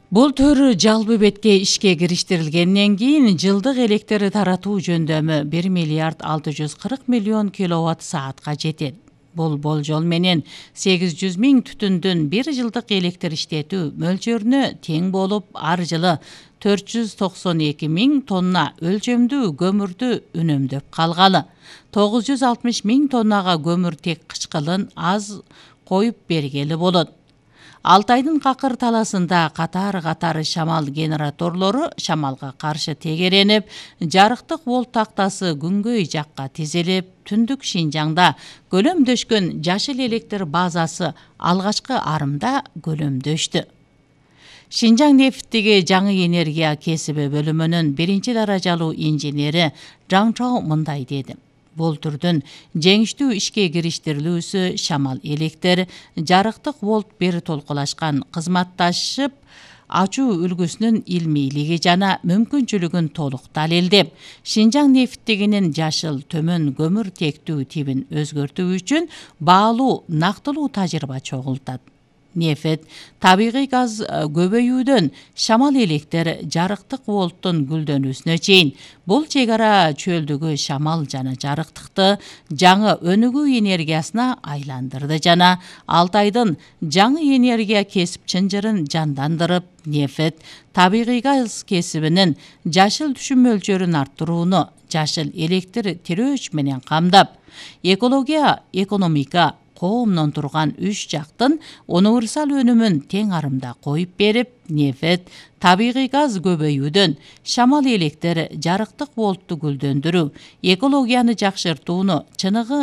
Бул төр жалпы бетке ишке кириштирилгенден кийин жылдык электр таратуу жөндөмү 1 миллиард 640 миллион киловатт саатка жетет. Бул болжол менен 800 миң түтүндүн 1 жылдык электр иштетүү мөлчөрүнө тең болуп, ар жылы 492 миң тонна өлчөмдүү көмүрдү үнөмдөп калгалы. 960 миң тоннага көмүр тек кышкылын аз коюп бергели болот. Алтайдын какыр таласында катар шамал генераторлору шамалга каршы тегеренип, жарыктык волт тактасы күнгөй жакка тизилип, түндүк Шинжаңда көлөмдөшкөн жашыл электр базасы алгачкы арымда көлөмдөштү. Шинжаң нефттиги жаңы энергия кесиби бөлүмүнүн 1-даражалуу инженери Жаң Чоу мындай деди. Бул түрдүн жеңиштүү ишке кириштирилүүсү шамал электр, жарыктык волт бир толкулашкан кызматташып ачуу үлгүсүнүн илмийлиги жана мүмкүнчүлүгүн толук далилдеп, Шинжаң нефттигинин жашыл төмөн көмүр тектүү тибин өзгөртүү үчүн баалуу, нактылуу тажрыйба чогултат. Нефт, табигый газ көбөйүүдөн шамал электр, жарыктык волттун гүлдөнүүсүнө чейин бул чек ара чөлдөгү шамал жана жарыктыкты жаңы өнүгүү энергиясына айландырды жана Алтайдын жаңы энергия кесип чынжырын жандандырып, нефт, табигый газ кесибинин жашыл түшүм мөлчөрүн арттырууну жашыл электр тирөөч менен камдап, экология, экономика, коомдон турган 3 жактын универсал өнүмүн тең арымда коюп берип, нефт, табигый газ көбөйүүдөн шамал электр, жарыктык волтту гүлдөндүрүү, экологияны жакшыртууну чыныгы